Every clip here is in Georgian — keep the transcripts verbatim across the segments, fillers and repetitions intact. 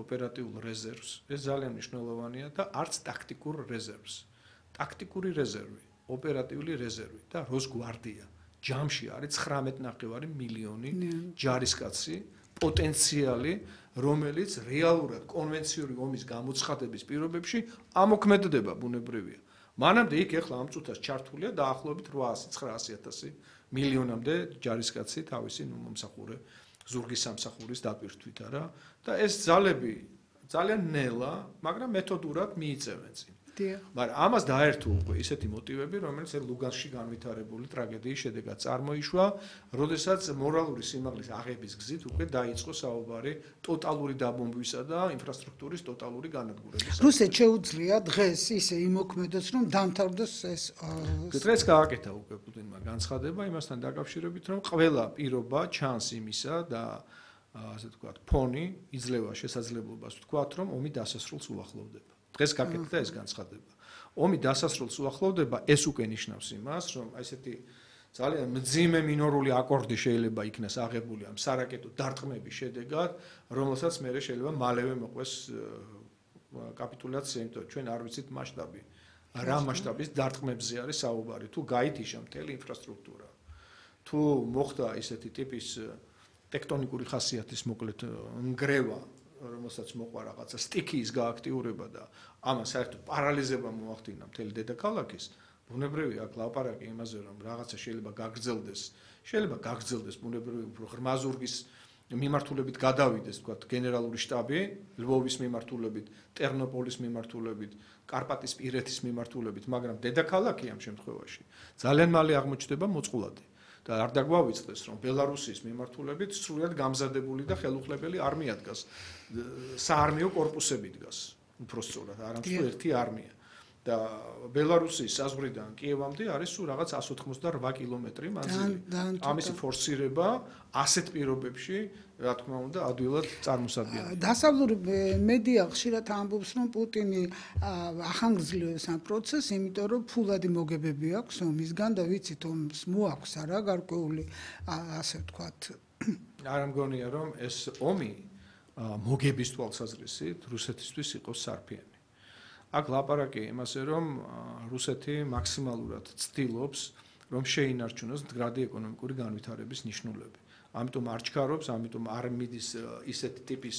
ოპერატიულ რეზერვს, ეს ძალიან მნიშვნელოვანია და არც ტაქტიკურ რეზერვს. ტაქტიკური რეზერვი, ოპერატიული რეზერვი და როსგვარდია. ჯამში არის ცხრამეტი ნახევარი მილიონი ჯარისკაცი, პოტენციალი, რომელიც რეალურად კონვენციური ომის გამოცხადების პირობებში ამოქმედდება ბუნებრივია. მანამდე იქ ეხლა ამ წუთას ჩართულია დაახლოებით რვაასი ცხრაასი ათასი მილიონამდე ჯარისკაცი თავისი მომსახურე ზურგის სამსახურის დაპირთვით არა და ეს ძალები ძალიან ნელა, მაგრამ მეთოდურად მიიწევენ წინ. მაგრამ ამას დაერთო უკვე ისეთი მოტივები, რომელიც ლუგანსკში განვითარებული ტრაგედიის შედეგად წარმოიშვა, როდესაც მორალური სიმაღლის აღების გზით უკვე დაიწყო საუბარი ტოტალური დაბომბვისა და ინფრასტრუქტურის ტოტალური განადგურების. რუსეთს შეუძლია დღეს ისე იმოქმედოს, რომ დამთავრდეს ეს დღეს გააკეთა უკვე პუტინმა განცხადება იმასთან დაკავშირებით, რომ ყველა პირობა ჩანს იმისა და ასე ვთქვათ, ფონი იძლევა შესაძლებლობას ვთქვათ, რომ ომი დასასრულს უახლოვდება. დღეს გაკეთდა ეს განცხადება. ომი დასასრულს უახლოვდება, ეს უკვე ნიშნავს იმას, რომ ესეთი ძალიან მძიმე მინორული აკორდი შეიძლება იქნას აღებული ამ სარაკეტო დარტყმების შედეგად, რომელსაც მერე შეიძლება მალევე მოყვეს კაპიტულაცია, იმიტომ რომ ჩვენ არ ვიცით მასშტაბი. რა მასშტაბის დარტყმებზე არის საუბარი, თუ გაითიშა მთელი ინფრასტრუქტურა. თუ მოხდა ისეთი ტიპის ტექტონიკური ხასიათის მოკლედ ნგრევა, რომელსაც მოყვა რაღაცა სტიქიის გააქტიურება და ამას საერთოდ პარალიზება მოახდინა მთელი დედაქალაქის, ბუნებრივია აქ ლაპარაკი იმაზე, რომ რაღაცა შეიძლება გაგრძელდეს, შეიძლება გაგრძელდეს ბუნებრივი უფრო ღრმა ზურგის მიმართულებით გადავიდეს, თქვათ, გენერალური შტაბი, ლვოვის მიმართულებით, ტერნოპოლის მიმართულებით, კარპატისპირეთის მიმართულებით, მაგრამ დედაქალაქი ამ შემთხვევაში ძალიან მალე აღმოჩნდება მოწყვლადი. და არ დაგვავიწყდეს, რომ ბელარუსის მიმართულებით სრულად გამზადებული და ხელუხლებელი არმია დგას, საარმიო კორპუსები დგას, უფრო სწორად, არამედ ერთი არმია. და ბელარუსის საზღვრიდან კიევამდე არის სულ რაღაც εκατს ოთხმოცდაოთხ კილომეტრი მანძილი. ამისი ფორსირება ასეთ პირობებში, რა თქმა უნდა, ადვილად წარმოსადგენია. დასავლური მედია ხშირად ამბობს, რომ პუტინი ახანგრძლივებს ამ პროცესს, იმიტომ რომ ფულადი მოგებები აქვს ომისგან და ვიცით, ომს მოაქვს არა გარკვეული, ასე ვთქვათ. არ მგონია, რომ ეს ომი მოგების თვალსაზრისით რუსეთისთვის იყოს სარფიანი. აქ ლაპარაკი იმაზე, რომ რუსეთი მაქსიმალურად ცდილობს, რომ შეინარჩუნოს მდგრადი ეკონომიკური განვითარების ნიშნულები. ამიტომ არ ჩქარობს, ამიტომ არ მიდის ისეთი ტიპის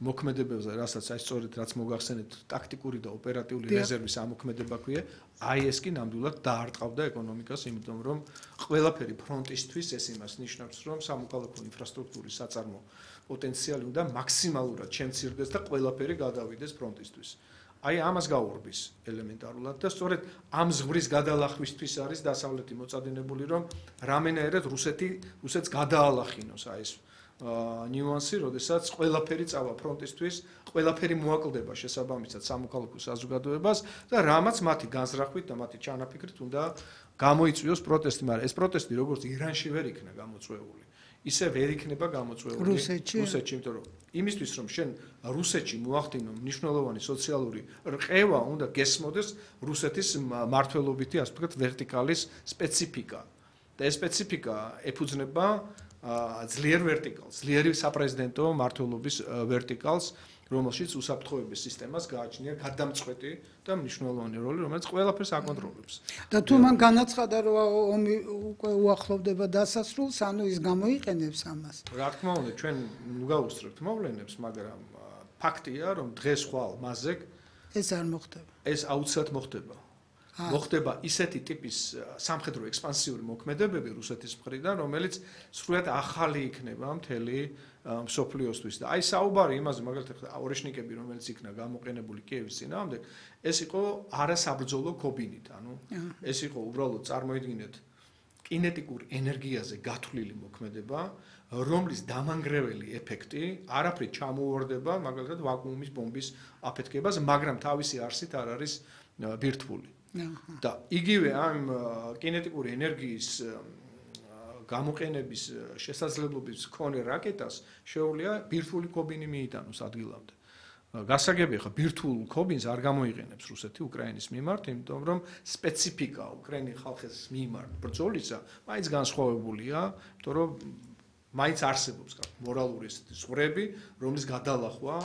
მოქმედებებზე, რასაც აი სწორედ რაც მოგახსენეთ, ტაქტიკური და ოპერატიული რეზერვის ამოქმედება ქვია, აი ეს კი ნამდვილად დაარტყავდა ეკონომიკას, იმიტომ რომ ყველაფერი ფრონტისთვის ეს იმას ნიშნავს, რომ სამოქალაქო ინფრასტრუქტურის საწარმო პოტენციალი უნდა მაქსიმალურად შემცირდეს და ყველაფერი გადავიდეს ფრონტისთვის. აი ამას გაურბის ელემენტარულად და სწორედ ამ ზღვრის გადალახვისთვის არის დასავლეთი მოწადინებული, რომ რამენაერად რუსეთი რუსეთს გადაალახინოს აი ეს ნიუანსი, როდესაც ყველაფერი წავა ფრონტისთვის, ყველაფერი მოაკლდება შესაბამისად სამოქალაქო საზოგადოებას და რამაც მათი განზრახვით და მათი ჩანაფიქრით უნდა გამოიწვიოს პროტესტი, მაგრამ ეს პროტესტი როგორც ირანში ვერ იქნა გამოწვეული, ისე ვერ იქნება გამოწვეული რუსეთში, იმიტომ რომ იმისთვის რომ შენ რუსეთში მოახდინო მნიშვნელოვანი სოციალური რყევა, უნდა გესმოდეს რუსეთის მართლობითი, ასე ვთქვათ, ვერტიკალის სპეციფიკა. და ეს სპეციფიკა ეფუძნება ძლიერ ვერტიკალს, ძლიერი საპრეზიდენტო მართლობის ვერტიკალს, რომელშიც უსაფრთხოების სისტემას გააჩნია გადამწყვეტი და მნიშვნელოვანი როლი, რომელიც ყველაფერს აკონტროლებს. და თუ მან განაცხადა, რომ ომი უკვე უახლოვდება დასასრულს, ანუ ის გამოიყენებს ამას. რა თქმა უნდა, ჩვენ გავუსწრებთ მოვლენებს, მაგრამ ფაქტია, რომ დღეს ხვალ მასზე ეს არ მოხდება. ეს აუცილებლად მოხდება. მოხდება ისეთი ტიპის სამხედრო ექსპანსიური მოქმედებები რუსეთის მხრიდან, რომელიც სრულად ახალი იქნება მთელი მსოფლიოსთვის და აი საუბარი იმაზე, მაგალითად ორეშნიკები, რომელიც იქნა გამოყენებული კიევის წინააღმდეგ, ეს იყო არასაბრძოლო ქობინით, ანუ ეს იყო უბრალოდ წარმოიდგინეთ კინეტიკურ ენერგიაზე გათვლილი მოქმედება, რომლის დამანგრეველი ეფექტი არაფრით ჩამოუვარდება მაგალითად ვაკუუმის ბომბის აფეთქებას, მაგრამ თავისი არსით არ არის ბირთვული. და იგივე ამ კინეტიკური ენერგიის გამოყენების შესაძლებლობის მქონე რაკეტას შეუძლია ბირთვული ქობინი მიიტანოს ადგილამდე. გასაგებია ხა ბირთვულ ქობინს არ გამოიყენებს რუსეთი უკრაინის მიმართ, იმიტომ რომ სპეციფიკა უკრაინის ხალხის მიმართ ბრძოლისა მაინც განსხვავებულია, იმიტომ რომ მაინც არსებობს მორალური ზღვრები, რომლის გადალახვა